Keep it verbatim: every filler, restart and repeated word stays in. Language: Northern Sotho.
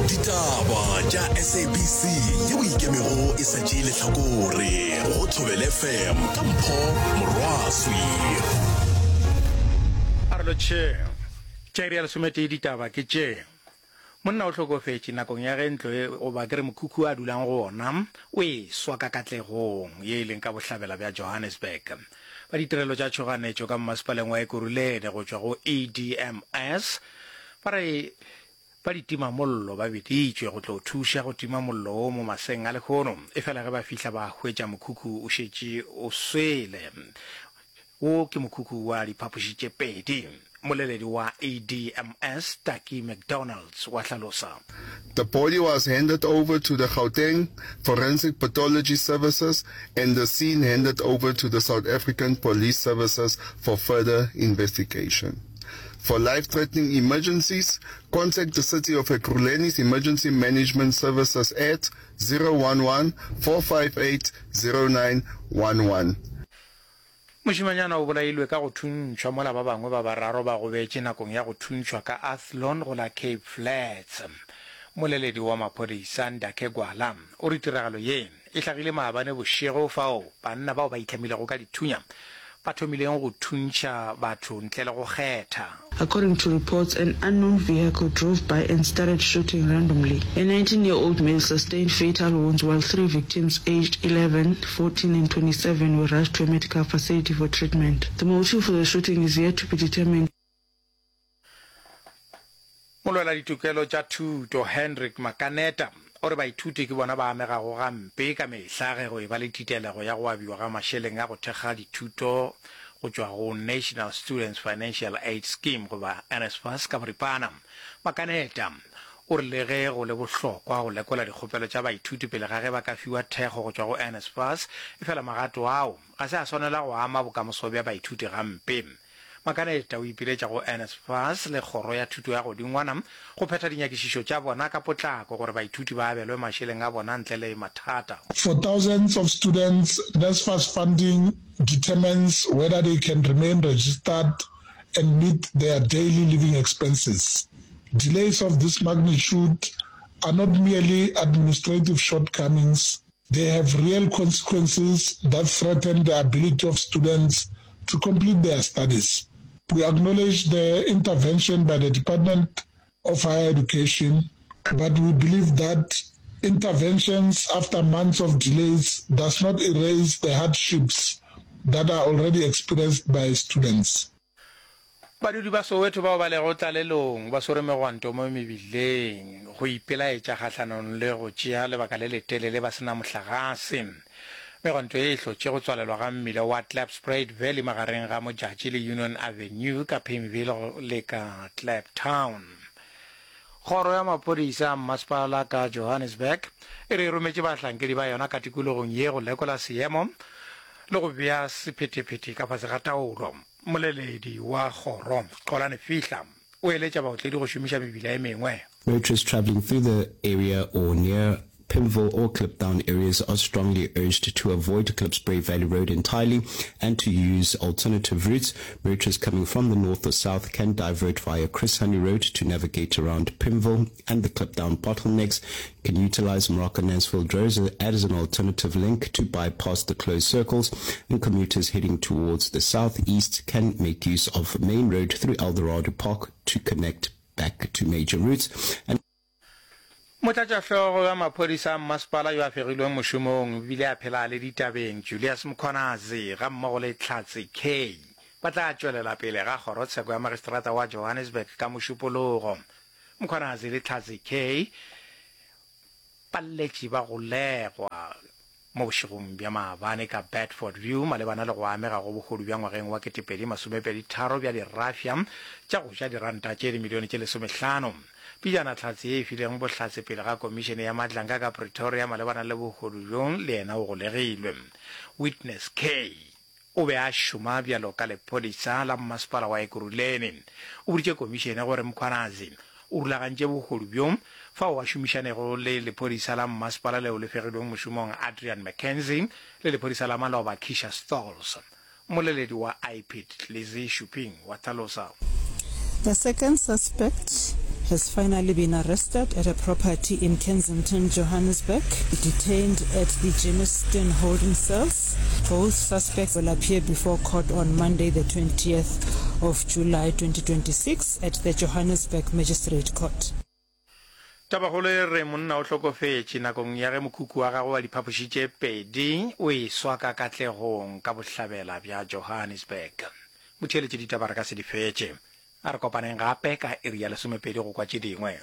Ditaba tša S A B C yeo ikemego e sa tšee lehlakore go Thobela F M ka Mpho Morwaswi. A re lotšheng. Tša iri ya lesometee ditaba ke tše. Monna o hlokofetše nakong ya ge ntlo e goba ke re mokhukhu a dulang go wona o e swa ka Katlegong ye e leng ka bohlabela bja Johannesburg. Ba ditirelo tša tšhoganetšo ka mmasepaleng wa Ekurhuleni go tšwa go E D M S ba re ba ditimamollo ba biditšwe go tlo thuša go tima mollo wo mo maseng a lehono, efela ge ba fihla ba hwetša mokhukhu o šetše o swele. Wo ke mokhukhu wa diphapoši tše pedi. Mmoleledi wa E D M S Taki McDonalds wa hlalosa. The body was handed over to the Gauteng Forensic Pathology Services and the scene handed over to the South African Police Services for further investigation. For life-threatening emergencies, contact the City of Ekurhuleni's Emergency Management Services at zero one one, four five eight, zero nine one one. Mošemanyana o bolailwe ka go thuntšhwa mola ba bangwe ba bararo ba gobetše nakong ya go thuntšhwa ka Athlone go la Cape Flats. Mmoleledi wa maphodisa Ndakhe Gwala o re tiragalo ye e hlagile maabane bošego fao banna bao ba itlhamilego ka dithunya ba thomileng go thuntšha batho ntle le go kgetha. According to reports, an unknown vehicle drove by and started shooting randomly. A nineteen-year-old male sustained fatal wounds while three victims aged eleven, fourteen and twenty-seven were rushed to a medical facility for treatment. The motive for the shooting is yet to be determined. Molwela ditokelo tša thuto Hendrik Makaneta o re baithuti ke bona ba amegago gampe ka mehla ge go eba le titelego ya go abiwa ga mašeleng a go thekga dithuto go tšwa go National Students Financial Aid Scheme goba N S F A S ka boripana. Makaneta o re le ge go le bohlokwa go lekola dikgopelo tša baithuti pele ga ge ba ka fiwa thekgo go tšwa go N S F A S, efela magato ao ga se a swanela go ama bokamoso bja baithuti gampe. Makaneta o ipiletša go N S F A S le kgoro ya thuto ya godingwana go phetha dinyakišišo tša bona ka potlako gore baithuti ba abelwe mašeleng a bona ntle le mathata. For thousands of students, N S F A S funding determines whether they can remain registered and meet their daily living expenses. Delays of this magnitude are not merely administrative shortcomings, they have real consequences that threaten the ability of students to complete their studies. We acknowledge the intervention by the Department of Higher Education, but we believe that interventions after months of delays does not erase the hardships that are already experienced by students. Badudi ba Soweto bao ba lego tlalelong ba swere megwanto mo mebileng go ipelaetša kgahlanong le go tšea lebaka le letelele ba se na mohlagase. Megwanto ye e hlotše go tswalelwa ga mmila wa Klipspruit Valley magareng ga Modjadji le Union Avenue ka Pimville le ka Kliptown. Kgoro ya maphodisa a mmasepala ka Johannesburg e re e rometše bahlankedi ba yona ka tikologong ye go lekola seemo le go bea sephethephethe ka fase ga taolo. Mmoleledi wa kgoro Xolani Fihla o eletša baotledi go šomiša mebila e mengwe. Motorists travelling through the area or near Pimville or Kliptown areas are strongly urged to avoid Klipspruit Valley Road entirely and to use alternative routes. Motorists coming from the north or south can divert via Chris Hani Road to navigate around Pimville and the Kliptown bottlenecks. Can utilize Morocco Mansfield Road as an alternative link to bypass the closed circles, and commuters heading towards the southeast can make use of Main Road through Eldorado Park to connect back to major routes. And Motlatšahlogo wa maphodisa a mmasepala yo a fegilweng mošomong ebile a phela a le ditabeng Julius Mkhwanazi gammogo le Hlatse K ba tla tšwelela pele ga kgorotsheko ya magistrata wa Johannesburg ka Mošupologo. Mkhwanazi le Hlatse K ba letše ba golegwa mo bošegong bja maabane ka Bedford View malebana le go amega go bohodu bja ngwageng wa ketepedi masomepedi tharo bja dirafša tša go ja diranta tše dimilione tše lesomehlano. Pejana hlatse ye e fileng bohlatse pele ga komišene ya Madlanga ka Pretoria malebana le bohodu bjo le yena o golegilwe. Witness K o be a šoma bjalo ka lephodisa la mmasepala wa Ekurhuleni. O boditše komišene gore Mkhwanazi o rulagantše bohodu bjo fao a šomišanego le lephodisa la mmasepala leo le fegilweng mošomong Adrian McKenzie le lephodisa la maloba Keisha Stols. Mmoleledi wa I P I D Lizzie Shuping wa hlalosa. The second suspect has finally been arrested at a property in Kensington, Johannesburg, detained at the Germiston holding cells. Both suspects will appear before court on Monday the twentieth of July twenty twenty-six at the Johannesburg Magistrate Court. Tabakgolo e re monna o hlokofetše nakong ya ge mokhukhu wa gagwe wa diphapoši tše pedi o eswa ka Katlegong ka bohlabela bja Johannesburg. Motheeletši ditaba re ka se di fetše. A re kopaneng gape ka iri ya lesomepedi go kwa tše dingwe.